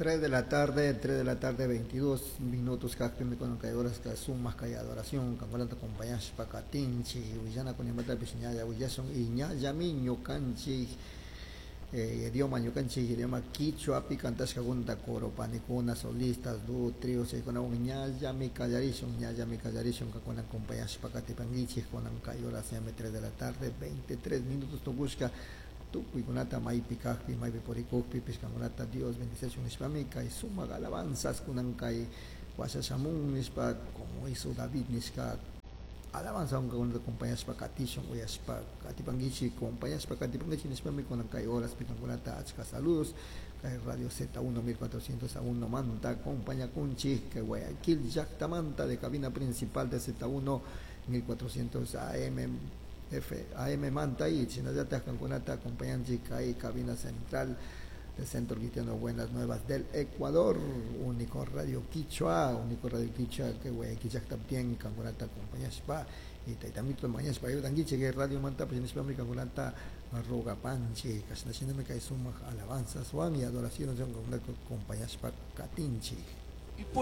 3 de la tarde, 3 de la tarde, 22 minutos, kakpimi kunan kay horas ka sumak kay adoración, kankunata acompañashpa katinchik, willanakunimantapish ñalla willashun y ñallami ñukanchik idioma ñukanchik idioma quichuapi cantashkakunata coro panikuna, solistas, dúo, tríos, chaykunawan ñallami kallarishun, ñallami kallarishun, kankuna acompañashpa katipankichik, kunan kay horas ñami 3 de la tarde, 23 minutos tukushka, tukuykunata maypi kakpi, maypi purikukpipish kankunata Dios bendiciachun nishpami kay sumak alabanzas kunan kay washashamun nishpa como hizo David nishka alabanza kankunata acompañashpa katishun uyashpa katipankichik, acompañashpa katipankichik nishpami kunan kay horaspi kankunata achka saludos kay Radio Z1 1400 A1 manta acompañakunchik kay Guayaquil llaktamanta de cabina principal de Z1 1400 AM F AM manta y shinallatak kankunata acompañanchik kay cabina central del Centro Cristiano Buenas Nuevas del Ecuador, único radio Quichua, único radio Quichua que Guayaquil llaktapi tiyan kankunata acompañashpa y taytamito mañashpa ayudankichik kay radio mantapish nishpami kankunata rogapanchik, kashna shinami kay sumak alabanzaswan y adoraciones kankunata acompañashpa katinchik. Y puede